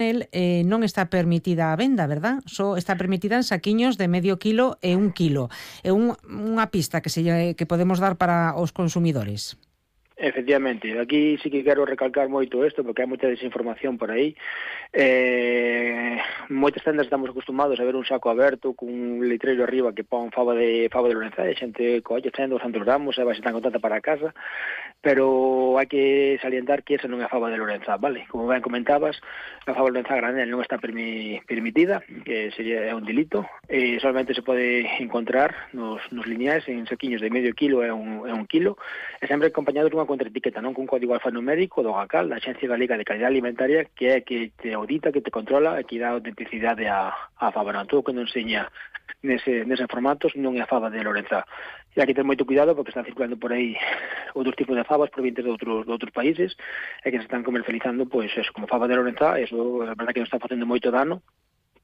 non está permitida a venda, verdad? Só está permitida en saquiños de medio quilo e 1 quilo. É unha pista que podemos dar para os consumidores. Efectivamente, aquí sí que quero recalcar moito isto porque hai moita desinformación por aí. Moitas tendas estamos acostumados a ver un saco aberto cun letreiro arriba que pon fava de Lorenza, e xente colle 100, 200 gramos e vai ser tan contenta para casa, pero hai que salientar que esa non é a fava de Lorenza, vale? Como ben comentabas, a fava de Lorenza granel non está permitida, que sería un delito, e solamente se pode encontrar nos lineais en saquiños de medio quilo e un quilo, e sempre acompañado dunha contraetiqueta, non cun código alfanumérico do GACAL, da Axencia Galega de Calidad Alimentaria, que é que te audita, que te controla e que dá autenticidade a fava. Non, todo que non enseña nese formatos non é a fava de Lorenza. E hai que ter moito cuidado porque están circulando por aí outros tipos de favas provenientes de outros países e que se están comercializando, pois, eso, como fava de Lorenza. Eso é verdade que nos está facendo moito dano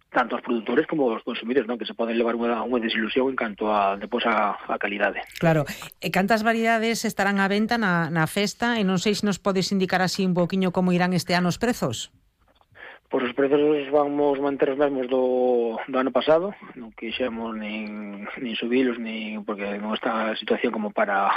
tanto aos produtores como aos consumidores, non? Que se poden levar unha desilusión en canto a depois a calidade. Claro. E cantas variedades estarán á venta na festa? E non sei se nos podes indicar así un poquinho como irán este ano os prezos. Pois os prezos vamos manter os mesmos do ano pasado, non quixemos nin subilos, porque non está a situación como para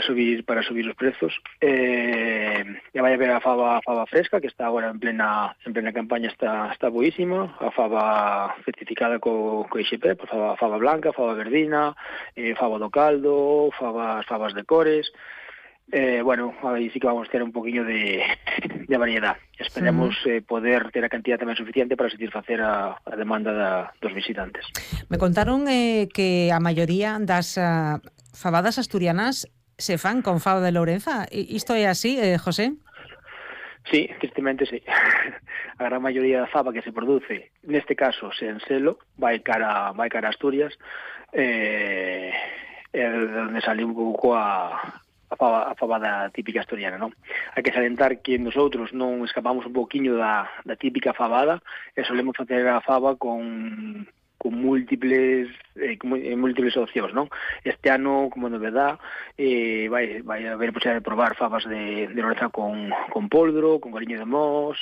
subir os prezos. E vai haber a fava fresca, que está agora en plena campaña, está boísima, a fava certificada co IXP, pues fava blanca, fava verdina, fava do caldo, favas de cores. Bueno, aí sí que vamos a ter un poquinho de variedad. Esperemos poder ter a cantidad tamén suficiente para satisfacer a demanda dos visitantes. Me contaron que a maioría das fabadas asturianas se fan con fava de Lorenza. Isto é así, José? Sí, tristemente sí. A gran maioría da fava que se produce, neste caso, sen selo, vai cara a Asturias, é onde sale un pouco a fava da típica asturiana, non? Hai que salientar que nosotros non escapamos un pouquiño da típica fabada e solemos facer a fava con múltiples opcións, non? Este ano, como novedad, vai haber posibilidade de probar favas de Lorenza con poldro, con cariño de mos.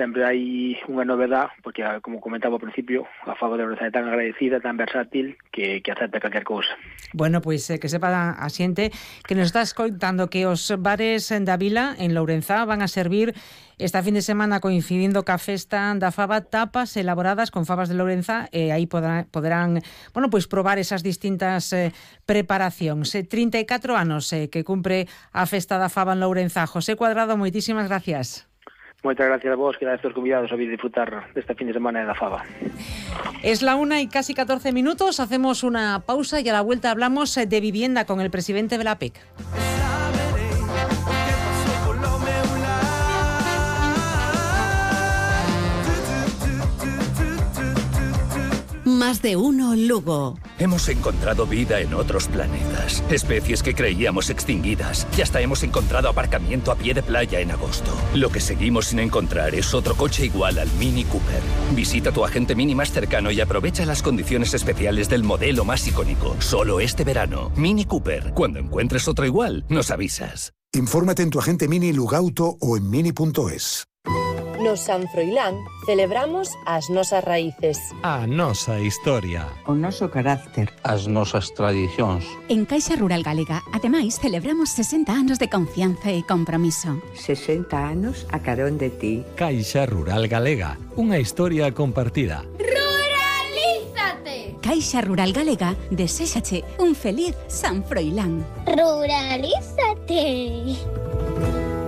Sempre hai unha novedad, porque, como comentaba ao principio, a fava de Lorenza é tan agradecida, tan versátil, que acepta calquer cousa. Bueno, pois que sepa a xente que nos estás contando que os bares da Vila, en Lorenza, van a servir esta fin de semana, coincidindo ca festa da fava, tapas elaboradas con favas de Lorenza, e aí poderán, bueno, pois probar esas distintas preparacións. 34 anos que cumpre a festa da fava en Lorenza. José Cuadrado, moitísimas gracias. Moitas gracias a vos, que dades os convidados a vir disfrutar desta fin de semana da fava. Es la 1 y casi 14 minutos, hacemos una pausa y a la vuelta hablamos de vivienda con el presidente de la APEC. Más de uno Lugo. Hemos encontrado vida en otros planetas, especies que creíamos extinguidas, y hasta hemos encontrado aparcamiento a pie de playa en agosto. Lo que seguimos sin encontrar es otro coche igual al Mini Cooper. Visita tu agente Mini más cercano y aprovecha las condiciones especiales del modelo más icónico. Solo este verano. Mini Cooper. Cuando encuentres otro igual, nos avisas. Infórmate en tu agente Mini Lugauto o en mini.es. No San Froilán celebramos as nosas raíces, a nosa historia, o noso carácter, as nosas tradicións. En Caixa Rural Galega, ademais, celebramos 60 anos de confianza e compromiso. 60 anos a carón de ti. Caixa Rural Galega, unha historia compartida. ¡Ruralízate! Caixa Rural Galega, deséxache un feliz San Froilán. ¡Ruralízate!